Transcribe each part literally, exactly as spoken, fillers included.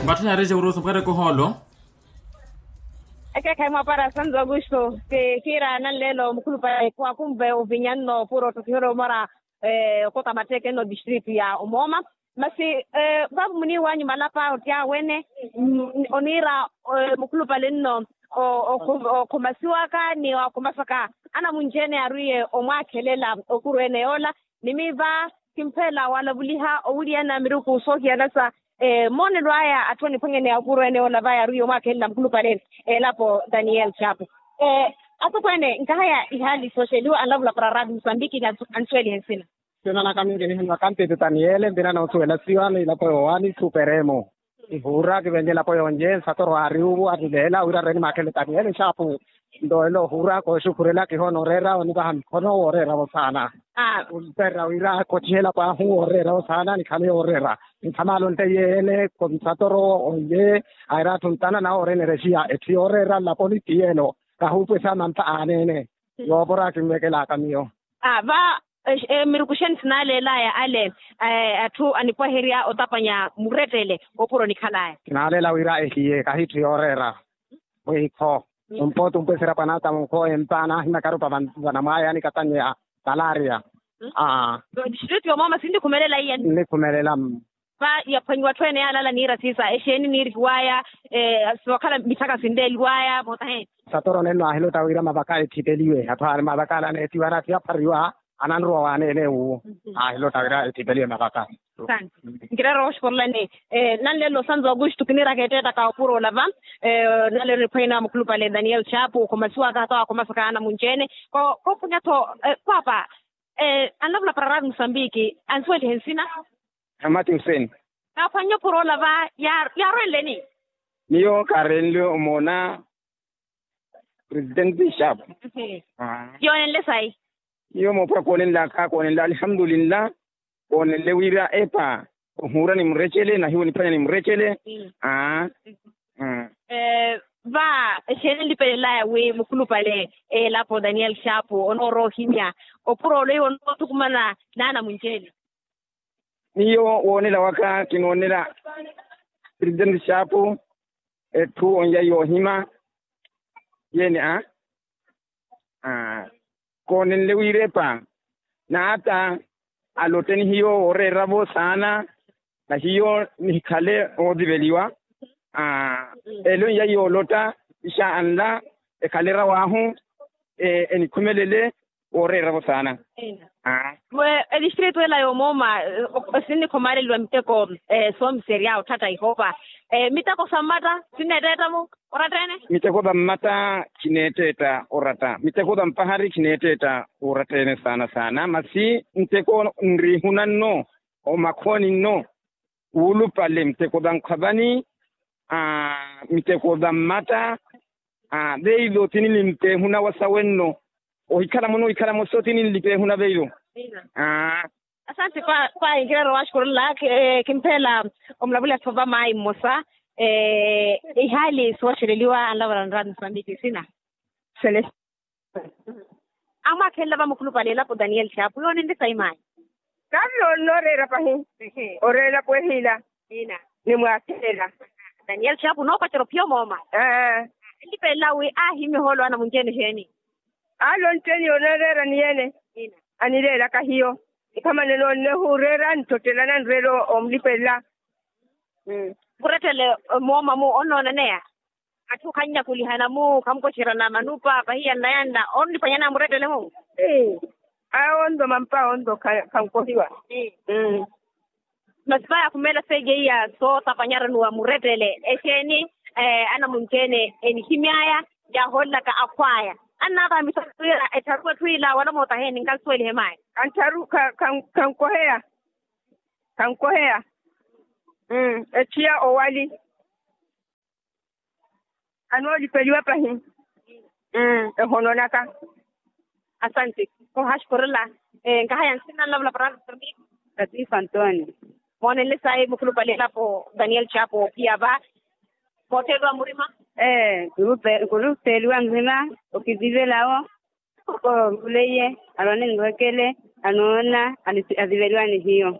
Patthu narexe urusu mukateke ohoolo. Ekeekhayi mwapara santo augusto. Kiira nanleelo mukhulupale khwakhumve ovinya nno puro ottokiherya omora okota matteeke nno district ya omooma. Masi vaapo muniiwanyu malapa ottya wene oniira mukhulupale nno okhomasiwaka ni wakhomasa ka anamunci-ene arwiye omwaakhelela okuru ene yoola. Ni miiva kimpheela walavuliha owuliyana miruku soohiyana sa moonelo aya atthu aniphwanyaneya okuru ene yoola vaya arwiye omwaakhelela mukhulupale elapo daniel chapo. Atokweene nkahaya ihaali sooxeliwa anlavula para raati musambiki ni ansuwelihe nsina. Nsina naka mingi nihinwa kantiiti taniele mbina noosuwela siwa ni elapo yoowani superemo. Ihuura kivenye elapo yonje nsatoro aari uvu anileela wira reni maakhele taniele nxaapu. Nto ela ohuura kooxukhurela kihoona oreera onivaha mikhono wooreeravo saana. Onteerera wira kotthihe elapo ahu wooreeravo saana nikhale yooreera. Nkhamaala onteiye ele nsatoro onje aira atthu ntana nawe orenerexiya etthu yooreera nlaponi ti yeelo. Kahuupwesa mantha aaneene. Yoopora kinvekelaaka miyo. Va mirukuxeni sinaaleelaya ale atthu anipwaherya otapanya murettele opuro nikhalaya. Kinaaleela wira ehiye kahitthu yooreera mwiikho. Ompooti ompwesera pwanata munkho empa naahimakarupa vanamwaya nikatanyeya. Malaria. Aa. District yomooma sinnikhumelela iye. Nnikhumelela. Va yaphwanyiwa atthu ene yaalaala niira siisa exeeni niirihiwaya sookhala mitthaka sinleeliwaya mootaheni. Satoro nenno aahilota wira mavaka etthipeliwe atthu aari mavaka ala aneethiwa anatthi aphariwa ananruwa waaneene wuwo. Aahilota wira etthipeliwe mavaka. Nkirero oxuporolani nanleelo santo augusto kiniiraka etteetta ka opuro olava. Nanleelo niphwanyana mukhulupale daniel chapu okhomasiwaka ata wakhomasa ka anamunci-ene. Koophwanya-tho paapa anlavula para raati musambiki ansuwelihe nsina. Amati huseni. Kaaphwannye opuro olava yaarwenleni? Miyo kaarenle omoona presidenti chapu. Yoonenle sayi? Iyo moopura koonenlaka koonenla alihamdulillah. Koonenle wira epa ohuura ni murecele nahiwo niphwanya ni murecele. Aa. Va exeeni enlipelelaya wi mukhulupale elapo daniel chapu onoorowa ohimya opuro ole iwo onoothukumana naanamunci-ene? Miyo woonela waka kinoonela presidenti chapu etthu onja yoohima. Yeene a koonenle wiirepa n'ata alotte ni hiyo wooreeravo saana. Na hiyo nihikhale ootiveliwa. Elo iya yoolotta isha anla ekhale erawaahu enikhumelele wooreeravo saana. Aa. Etistritu ela yoomooma sinnikhomaleliwa miteko soomiserya otthatta ihoopa. Miteko sa mmatta sinneetteetta-mo oratta-ene? Miteko sa mmatta khineetteetta oratta miteko sa mpahari khineetteetta oratta-ene saana saana masi nteko nriihuna nno omakhooni nno wuulupale miteko sa nkhwavani miteko sa mmatta. Veizo tini nimpeehuna wa sawe nno ohikhala muno ohikhala moso tini nlipeehuna veizo. Asante. Kwayi nkirero waxukurulla kimpheela omulavuliha-tho va maayi mmosa. Ihaali sooxeleliwa anlavula nraati musambiki sina. Celeste. Amwaakhelela va mukhulupale elapo daniel chapu yoonenle sayi maayi? Kaari yoonne oreera pahi. Oreera elapo ehiila. Ina. Nimwaakhelela. Daniel chapu noopacerya ophiya omooma. Enlipelela wi aahimya ohoolo anamunci-ene exeeni? Aali onci-ene yooneereera ni ene. Anileelaka hiyo. Nkhamane noonne ohuureera nittottela nanreela omlipelela. Murettele mooma-mu onnoonaneya? Atthu khanyakulihana-mu khamukocerana manupa pahiya nnayanna onniphwanyana murettele-mu. Awo ontho mampa ontho khankohiwa. Masi vaya khumeela seeja iya sootapanyarani wa murettele exeeni? Anamunci-ene enihimy'aya yaahoolelaka akhw'aya annaka mitharu wira ettharu etthu ila wala mootaheni nkansuwelihe mayi. Kankoheya. Kankoheya. Ethiya owali. Anoolipeliwa pahi. Ehono naka. Asante. Ohaxukurela. Nkahaya nsina nlavula para. Katifa antoni. Moonenle sayi mukhulupale elapo daniel chapo ophiya va. Mootteliwa murima. Ee. Nkulupeliwa murima. Okivivelawo. Koko nkuleiye. Aroni nrwekele. Anoona. Aziveliwa ni hiyo.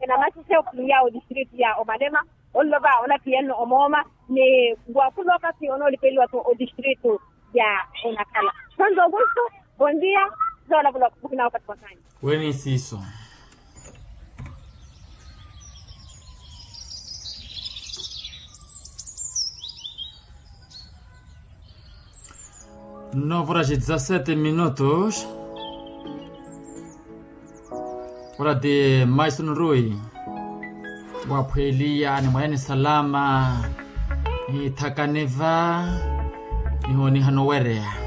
Enamaxexe okhulumiya odistritu ya omalema, onlova onaphiyanno omooma, ni wakhulooka si onoolipeliwa-tho odistritu ya onakhala. Santo augusto, bondia. Zoolavuloka muhina wakathi wa kanya. Wene siiso. Novura xi dezasete minutos. Ora ti maiso nurui. Waphweliya ni mwene salama. Ni thakaniva. Ni honihano wereya.